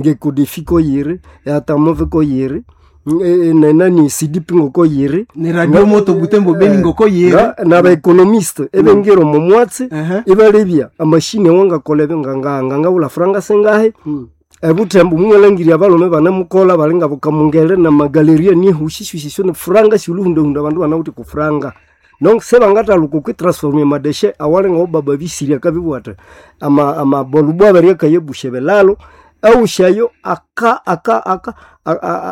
Ngekodefi koyiri, eatamove koyiri, nenani sidipi ngoko yiri. Ni Radio Moto Butembo Beni ngoko yiri. N'abaekonomiste ebengira omo mwatsi, ibalebya amashini awangakola ebyo ngangawulha franga singahi. Ebuthembo mumwalhangirya abalhume ibanemukolha bali ngabukamungere namagaleria nihushishushisho nefuranga syolhuhundahunda abandu ibanawithe okwa franga. Donc sibangathalhuka okwi transforma amadeshe awali ngawobaba bisirya akabibugha athi amabolubo abiri akayabusya ebilalo, awusi ayo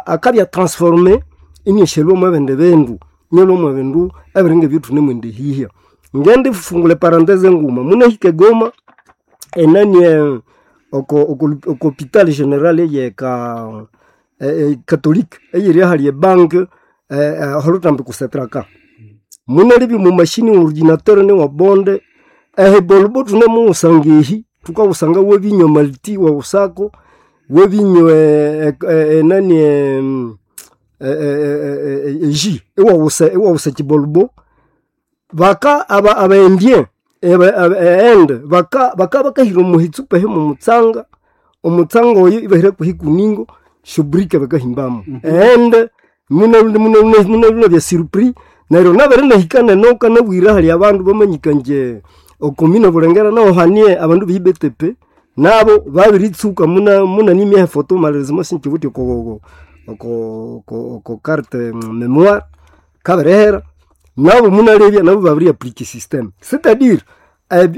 akabya transforme iniasyalhwa mwebindi bindu, inialhwa mwebindu ebiri ngebyathunemwendihihya. Ngendifungulha eparenthese nguma, munahika eGoma enani oko hopital general eyeka catholic eyiri ahali ebank aholuthambi ku Setraka. Munalebya omo machine ordinateur niwabonde, ehibolubo thunemuwusanga ehi, thukawusanga wabinywa malti iwawusako, wabinywa enani eji iwawusa iwawusa ekibolubo. Baka abaindien eende baka bakahira omuhitsupa ehi mwomutsanga, omutsanga oyo ibahira kwehikuningo syoburike bakahimbamu. Eende munalubya surpris neryo nabere inahika nenoka nabwire ahali abandu bamanyika ingye okomine Bulengera nahu hanie abandu be IBTP nabo babiritsuka munanimya efoto malheureusement sinkiwithe oko carte memoire kabirihera, nabo munalebya nabo babiri applique system. C'est-à-dire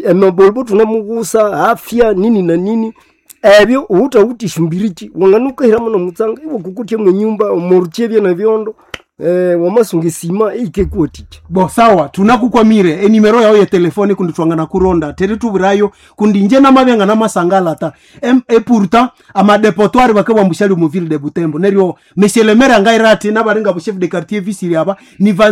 emibolubo thunemuwusa afya nini na nini, ebyo ghuthawithe esyombiriki wanganukahiramu nomutsanga iwakokotya mwenyumba omorukyi ebye nebyondo, wamasunga esima eyikakuwathikya. Bo sawa, tunakukwamire enimero yawo yetelefoni kundi twanganakuronda tere tuburayo kundi inje namabya nganamasangala ta e pourtant amadepotoire bakabwa mbushali mu ville de Butembo. Neryo monsieur le maire angaira ati nabaringa bu chef de quartier visiri aba ni ba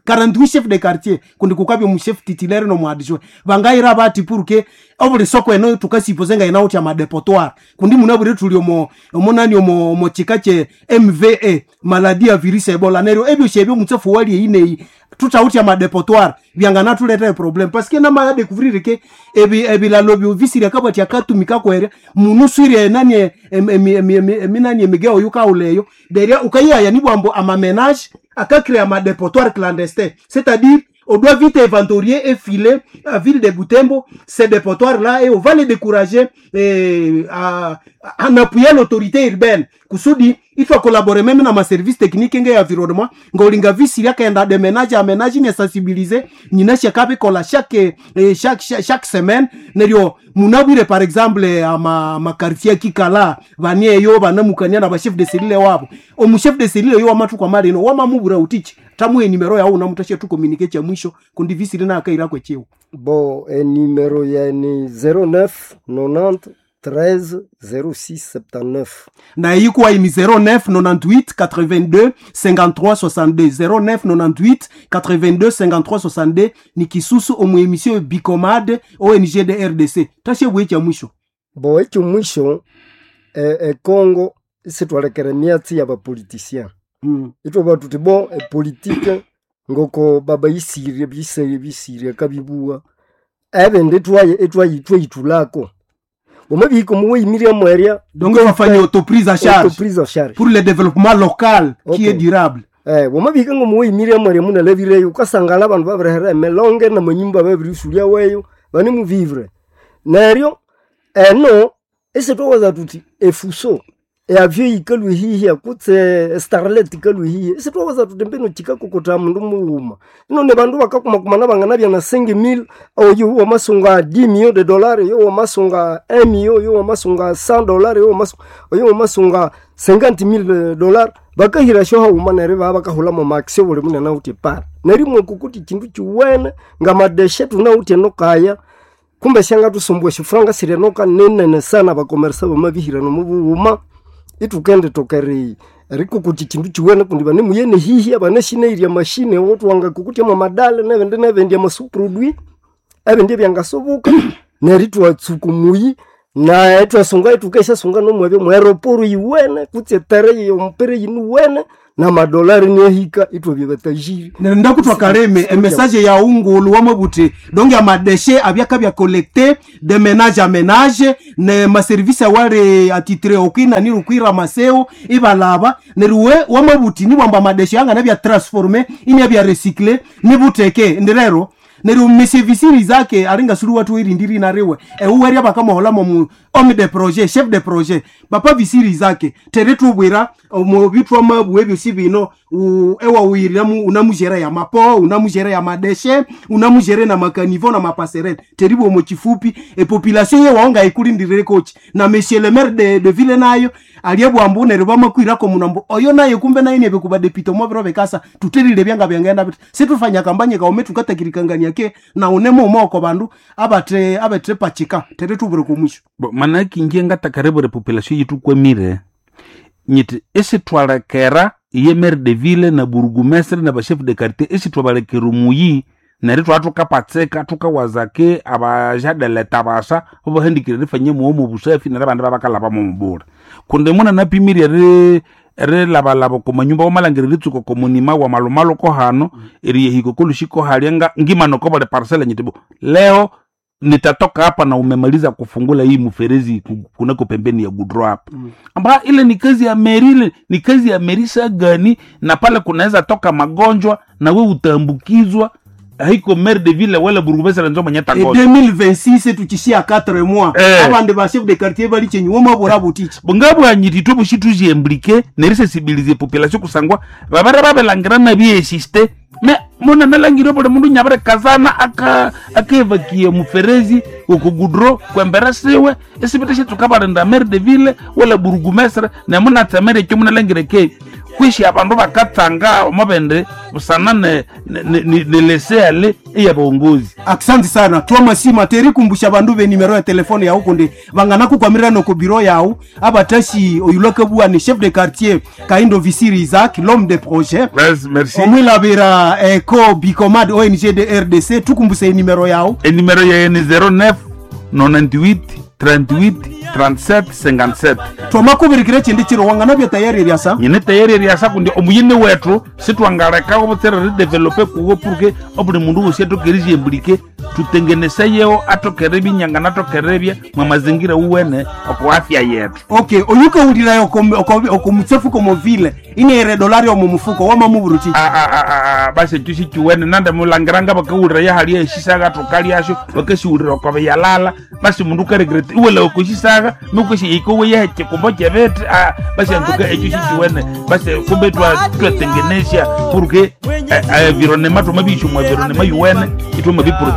48 chef de quartier kundi kukabya mu chef titulaire no mu adjoint bangaira bati pour que obuli soko eno tukasipoze nga inawuthi amadepotoire kundi munabwire tuli omo omonani omo omo chika che MVA maladie ya virus Ebola. Neryo ebyo syebyo mutsefu wali eyineyi tutawuthi amadepotoire byanganathuletera problem parce que namaya découvrir ke ebi ebilalo byo visiri akabati akatumika kwere munuswire nani eminani emigeo yukauleyo derya ukayaya nibwambo amamenage akacréer amadepotoire clandestin, c'est-à-dire on doit vite inventorier et filer à ville de Butembo ces dépotoirs-là et on va les décourager et en appuyant l'autorité urbaine. Kusudi, il faut collaborer même dans ma service technique et environnement. Ngolinga visi ya kenda de ménage à ménage ni sensibiliser ni na chaque kola chaque chaque chaque semaine. Neryo munabwire par exemple ama ma quartier kikala vanie yo banamukania na ba chef de cellule wabo. Omu chef de cellule yo amatu kwa marino wamamubura utichi tamuhe nimero yawo namutashe tu communiquer cha mwisho kundi visi lina akaira kwechiwo. Bon, numero ya ni 09 90 13 06 79. Na ikuwa ni 09 98 82 53 62. 09 98 82 53 62 ni kisusu omu emission Bicomad ONG de RDC. Tashe bwe cha mwisho. Bo ekyo mwisho Congo isitwalekere myatsi ya bapoliticien. Itwe tuti bon epolitique ngoko baba isirye bisirye bisirye kabibuwa. Ebindi twaye etwaye twayitulako. Omabiko muweyimirya mwerya. Donc wafanye autoprise à charge. Autoprise à charge. Pour le développement local qui est durable. Wamabika ngo muweyimirya mwerya munalebireyo ukasangala abandu babirihera emelonge namanyumba babirisulya weyo bane muvivre. Neryo eno esitwawaza tuti efuso eavyo yikalwe hihi kutse starlet ikalwe hihi esitwawaza tuti mbino chikakokota mundu mughuma ino ne bandu bakakumakumana banganabya na 5000 oyo wamasunga 10 millions de dollars, yo wamasunga 1 million, yo wamasunga 100 dollars, yo wamasunga oyo wamasunga 50000 dollars bakahira sho hauma neryo baba bakahula mu maxi buli munene uti par nerimwe kukuti kindu kiwene ngamadeshe tunawuti nokaya kumbe shanga tusumbwe shifranga sirenoka nenene sana bakomersa bamabihira no mubuhuma itukende tokeri rikukuti kindu kiwene kundi bane muyene hihi abane shineirya mashine wotwanga kukuti ama madale nebindi nebindi amasuproduit ebindi byangasoboka neri twatsuka muyi na twasunga itukesha sunga nomwebyo mweroporo yiwene kutse tere yompere yinu wene. Na madolari niahika itwabya batajiri. Ndakutwa kaleme emessage ya ungulu wamwe buti donc amadeshe abyaka bya collecté de ménage à ménage ne maservice awali atitre okwina ni rukwira maseo ibalaba neruwe wamwe buti nibwamba amadeshe anga nabya transformer ini bya recycler nibuteke ndirero neryo misevisiri zake alinga sulu watu irindiri nariwe euweria bakamuholamo mu homme de projet, chef de projet, bapa visiri zake tere tubwira omu bitwa mabwe byosi bino ewa uyiriramu unamujere ya mapo, unamujere ya madeshe, unamujere na makanivo na mapaserele teribo mu kifupi e population ye waonga ikulindire kochi na monsieur le maire de ville nayo aliyebwambu neryo bamakwirako munambo oyo naye kumbe naye nebe kuba député mo biro bekasa tuterire byanga byangenda bit situfanya kampanye kaume tukatakirikangania ke na unemo umoko bandu abate abate pachika tere tubure kumwisho. Bo, manake inje ngatakaribure population yitu kwemire nyiti isitwalekera iye maire de ville na burugumestre na bachef de quartier isitwabalekera omuyi neryo twaa thukapatsika thukawazake abajadeleta basa babahandikire rifanye muwomo busafi neryo abandi babakalaba mumubura kundi muna napimire rilabalaba okomanyumba wamalhangira eritsuka okomunima wa malumalu kohano eriyehika okolushiko halya ngimana okobuli parcela nyiti bo leo nitatoka hapa na umemaliza kufungula hii mferezi kunako pembeni ya gudro hapa amba ile ni kazi ya meri, ile ni kazi ya meri sagani, na pale kunaweza toka magonjwa na we utaambukizwa. Haiko maire de ville wala burugumestre nzo mwenye E tangoza 2026 tuchishia 4 mois abandi ba chef de quartier bali chenyu woma bora butichi. Bungabwanyiti twe tuziemblike nerisensibilize population kusangwa babere babelangira nabiesiste me muna nalangire buli mundu nyabere kazana aka akevakie muferezi okugudro kwembera siwe esibite shetukabalinda maire de ville wala burugumestre nemunatsemere ekyo munalangire ke kwishi abandu bakatsanga omubindi busana nelesele eyabongozi. Asante sana twamasima terikumbusha bandu be nimero ya telefone yau kundi bangana kukwamirira noko biro yau abatashi oyulakabua ni chef de quartier Kaindo Visiri Isaac, l'homme de projet. Merci. Omwilabira eko bicomad ONG de RDC tukumbuse nimero yau. Enimero yaye ni 09 98 38 37 57. Twamakubirikire chindi chiro wangana bya tayari ryasa. Nyine tayari ryasa kundi omuyini wetu sitwangalekawo butsere ridevelope kuwo purke obuli mundu wosi atokere ryembulike tutengeneseyewo atokere binyanga natokere bya mwa mazingira uwene oko afya yetu. Okay, oyukawulirayo okomutsefu komovile inere dolari omu mufuko wamamuburuti. Basi ekyo sikiwene nande mulangiranga bakawulira yahali eshisaga thukalyasyo bakasiwulira okobe yalala basi mundu ukaregreta iwela okoshisaga nukoshi ikowe yehe chikumbo chebete basi antuka ekyo sikiwene basi kumbe twatengenesya purke environnement twamabiyisya omwa environnement yuwene itwamabiprote.